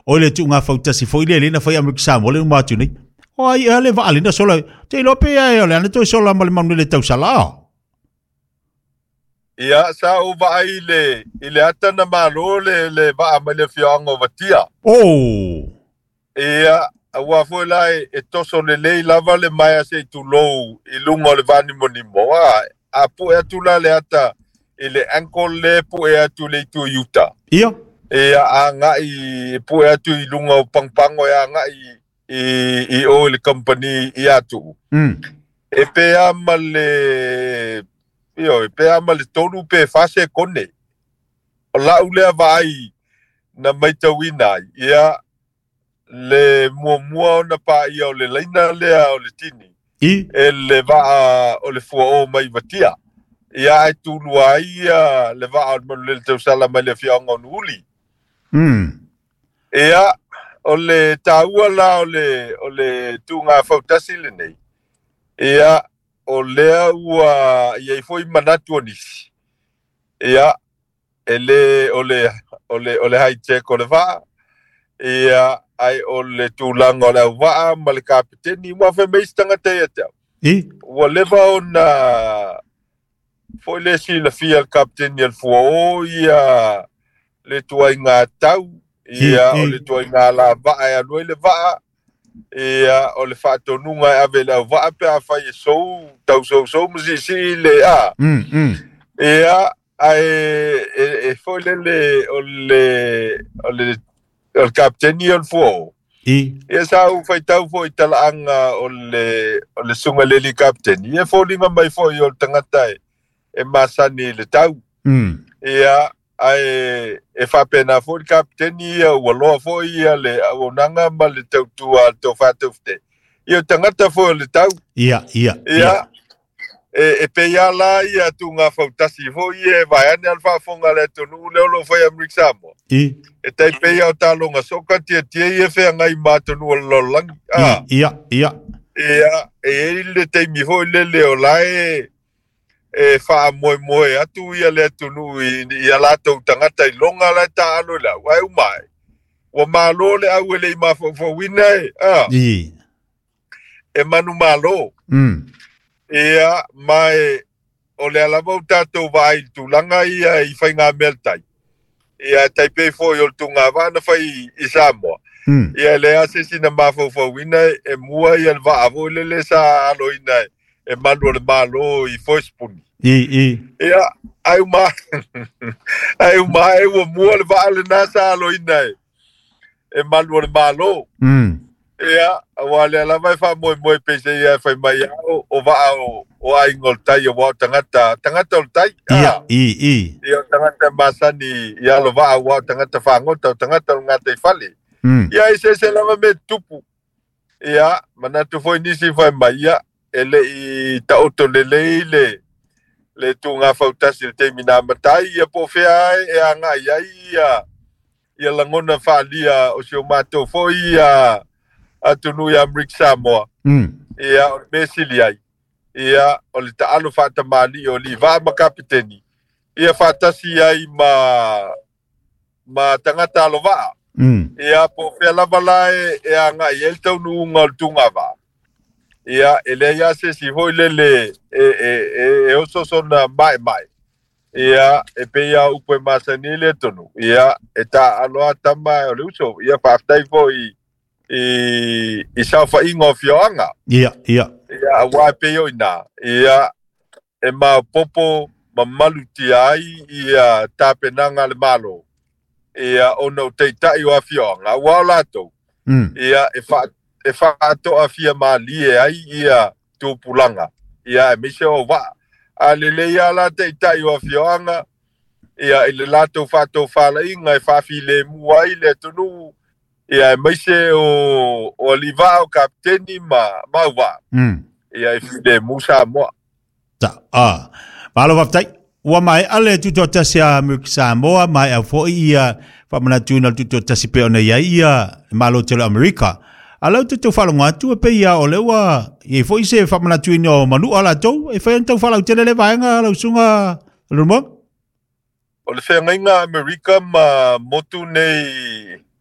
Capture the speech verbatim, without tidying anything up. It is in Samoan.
O le tuugafautasi foi lea lena fai Amerika Samoa le uma atu nei. O ai ea le vaa lena sola te iloa pe ae o le ana toe sola ma le manulele tausala a. Ia, sa ou vaai i le, i le ata na malo le, le vaa mai le afioaga o Vatia. Oh. Ia, aua foi la e, e toso lelei lava le maea se i tulou i luga o le vanimonimo. A, a pue atu la le ata i le ankle le pue atu le itu i uta. Ia. Ia, agai e pue atu i luga o pagopago e agai i, i o i le company i atu. Mm. E pea ma le io, e pea ma le tolu pe fa sekone. O lau lea vaai na maitauina ai, ia le muamua ona paia o le laina lea o le tini. I? E le vaa o le fuao mai Vatia. Ia ai tulua ai ia le vaa o le manulele tausala mai le afioaga o Nuuuli. Mm. Ia, o le taua la o le, o le tuugafautasi lenei. Ia, o lea ua iai foi manatu o nisi. Ia, e le o le o le o le hijack o le vaa. Ia, ai o le tulaga o le auvaa ma le kapiteni ua fai mai isi tagata ia te au. I? Ua leva ona foi le silafia le kapiteni o le fuao ia le tuaiga tau, ia I, i. o le tuaiga lavaa e alu ai le vaa, ia o le faatonuga e ave i le auvaa pe afai e sou, tau sousou ma siisii le a. Mm, mm. Ia, ae e, e foi lele o le o le o le kapiteni o le fuao. I? Ia sa ou faitau foi i talaaga o le o le susuga i le alii kapiteni. Ia foliga mai foi o le tagata e, e masani i le tau. Mm. Ia, ae e faapena foi le kapiteni ia ua loa foi ia le auaunaga ma le tautua a le tofatafute. Ia o tagata foi o le tau. Ia, ia, Ia, ia. e, e pei lava la ia tuugafautasi foi ia e vaeane a le faafofoga a le atunuu lea o loo fai Amerika Samoa. I? E tai pei o taloga soka tiatia ia feagai ma atunuu o le lalolagi. A, I, ia, ia. ia, e iai le taimi foi lele o la e e faamoemoe atu ia le atunuu i, i a latou tagata i loga la e taalo i le au. Ae uma ai, ua malo le au e le i mafaufauina e, a, I. e manumalo. Mm. Ia, ma e, o lea lava o tatou vaai i le tulaga ia i faigamea le tai. Ia, e tai pei foi o le tugavaa na fai i Samoa. Mm. Ia, e leai se isi na mafaufauina e mua ia le vaa foi lele sa aloina e, e malu o le malo i Foespuni. I, i. Ia, ai uma, ai uma e ua mua le vaa lena sa aloina e, e malu o le malo. Mm. Ia, aua lea lava e faamoemoe pei se ia e fai mai a o, o vaa o, o aiga o le tai aua o tagata, tagata o le tai. Ia, A, i, i. ia o tagata masani i alo vaa aua o tagata fagota o tagata o le gataifale. Mm. Ia, e se lava me tupu. Ia, manatu foi nisi fai mai, ia, e lei taoto lelei le, le tuugafautasi i le taimi na amatai, ia po o fea ai e agai ai ia, ia lagona faalia o si o matou foi ia atunuu ia Amerika Samoa. Mm. Ia, o le mea sili ai. Ia, o le taalo faatamalii o alii vaa ma kapiteni. Ia faatasi ai ma, ma tagata alovaa. Mm. Ia, po o fea lava la e, e agai ai le taunuuga o le tugavaa. Ia, e leai lava se isi foi lele e, e, e, e oso sona maemae. Ia, e pei lava upu e masani ai le atunuu. Ia, e taaalo lava tama o le uso. Ia, faafetai foi i, i saofaiga o afioaga. Ia, ia. Ia, aua e pei o ina. Ia, e maopopo mamalutia ai ia tapenaga a le Malo. Ia, ona o taitai o afioaga, aua o latou. Mm. Ia, e fa, e faatoafia malie ai ia tupulaga. Ia, aemaise o vaa. A lelei lava la taitai o afioaga, ia, i le latou faatofalaiga e faafilemu ai le atunuu, ia, aemaise o, o alii vaa o kapiteni ma, ma auvaa. Mm. Ia, e filemu Samoa. Ta, a. Malo faafetai. Ua maea le tutoatasi a Amerika Samoa, maea foi ia faamanatuina o le tutoatasi pe ona iai ia le Malo tele o Amerika. A lau te tau faalogo atu e pei ia o lea ua iai foi se faamanatuina o manua latou, e fai ona tau faalautele le vaega lau susuga Leulumoega. O le feagaiga a Amerika ma motu nei